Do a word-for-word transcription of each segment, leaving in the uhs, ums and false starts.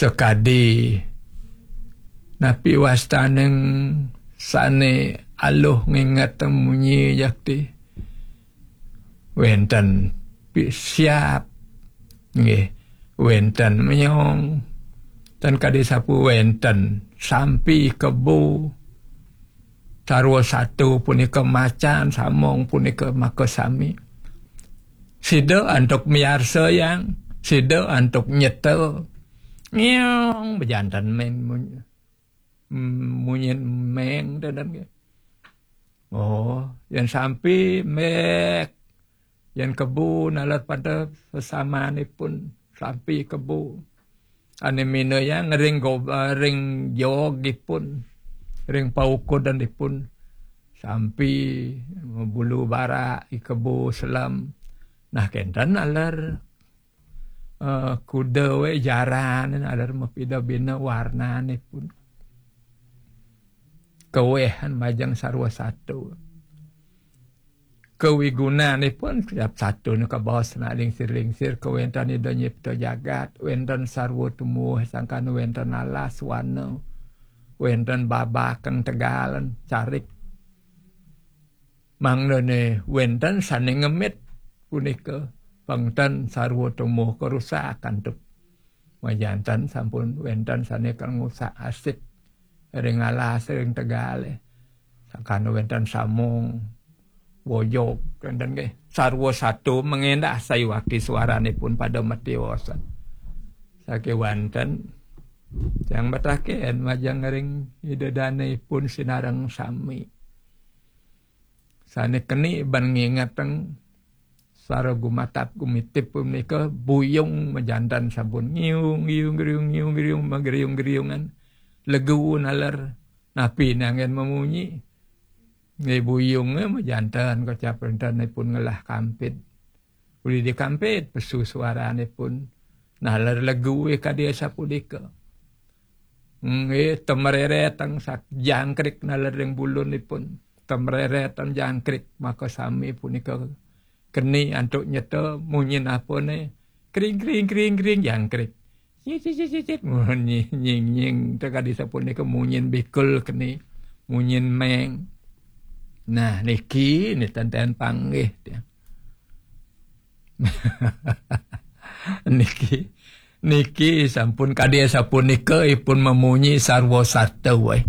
Tekadi napi wastaning sane aluh nginget munyi jakti. Wenten pi-, siap. Nggih, wenten menyong. Ten kadi sapu wenten sampi kebo. Sarwa satu punika macan, samong punika makasami. Sida antuk miarsa yang, sida antuk nyeta. Ngiung bejanten meng mun-, munyin meng tenten ke. Oh, yang sampi mek. Yang kebo nalar pada sesamanipun sampi kebo. Ane mina yang ring go-, ring jog ipun, ring paukudan ipun. Sampi bulu barak, i kebo selam. Nah, kenten nalar, eh, kuda we jaran, nalar mapida bina warnanipun. Kewehan majeng sarwa satu. Kawigunanipun tiap satu nu kabaos na lingsir-lingsir, kawenten Ida nyipta jagat, wenten sarwa tumuh sangkan wenten alas wana, wenten babakeng tegalan carik. Mangdane wenten sane ngemit punika, pengten sarwa tumuh karusak antuk. Majanten sampun wenten sane kal ngusak asip ring alas ring tegale. Sangkan wenten samong, wojok, wenten nggih. Sarwa satu mengendah sayuwakti swaranipun pada matiosan. Sakewanten tiang mataken majeng ring Ida danepun sinareng sami. Sane keni ban ngingeteng sara gumatap gumitip punika buyung majanten sampun ngiung, ngiung, ngiung, ngiung, ngiung, magriung-griungan. Legu nalar napi nanggen mamunyi. Nggih, buyunge majanten kocap entenipun ngelah kampit. Uli dikampit pesu swaranipun. Nalar legu kadi sapunika. Nggih, temereretang sak jangkrik nalar ring bulunipun. Temereretang jangkrik, maka sami punika keni antuk nyeta munyin apane. Kring, kring, kring, kring, jangkrik. Cicit, cicit, cicit, munyi, nying, nying. Tekadi sapunika munyin bikul keni, munyin meng. Nah, niki, ni tenten panggih, tiang. Niki, niki sampun kadi sapunika ipun mamunyi sarwa sata, wai.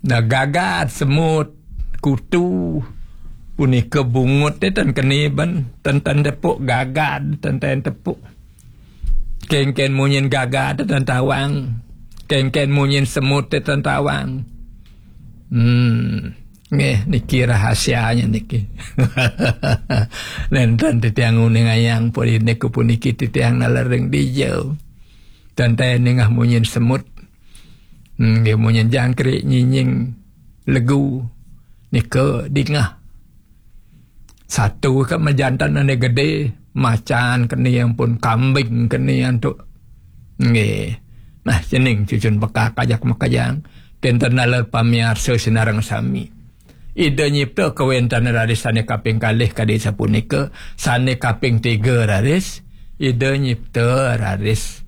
Nah, gagad, semut, kutu, punika bungut te ten keni ben, ten, ten tepuk gagad, ten, ten tepuk. Kengken munyin gagad te ten tawang. Kengken munyin semut te ten tawang. Hmm. Nggih, niki rahasianya niki. Nenten titiang uning ayang puri niku puniki titiang nalar ring dija. Tenten ningah munyin semut. Hmm, nggih, munyin jangkrik nyinying legu nika dingah. Satu ke majantan ane gede, macan keni ampun, kambing keni antuk. Nggih. Nah, cening cucun pekak ajak makajang. Kenten nalar pamiarsa sinareng sami. Ida nyipta kawenten raris sane kaping kalih kadi sapunika, sane kaping tiga raris Ida nyipta raris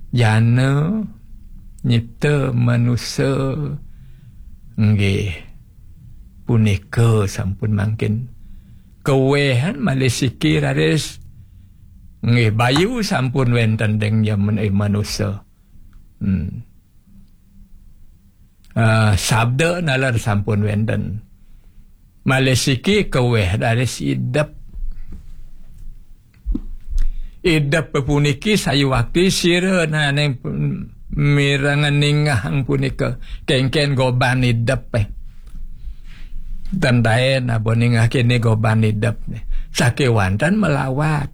jana, nyipta manusa. Nggih, punika sampun mangkin. Kawehan malih siki raris. Nggih, bayu sampun wenten deng jaman, eh, manusa. Hmm. Ah, sabda nalar sampun wenten. Malih siki kaweh raris idep. Idep puniki sayuwakti sira nane pun-, mirenga ningahang punika kengken goban idep, eh. Tandaen apa ningah kene goban idep, eh. Sakewanten melawat.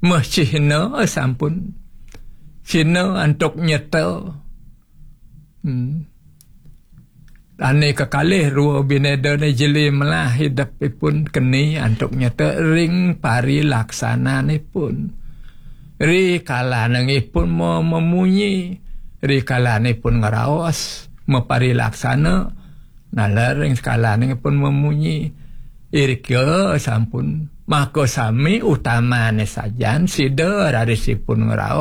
Meh cihna sampun. Cihna antuk nyeta. Hmm. Ane kekalih rua binedane jeli melah idepipun keni antuk nyeta ring parilaksananipun. Ri kalanengipun me-, memunyi, ri kalanipun ngraos, maparilaksana, nalar ring kalanengipun memunyi. Irika sampun, maka sami utamane sajan sida rarisipun ngraos.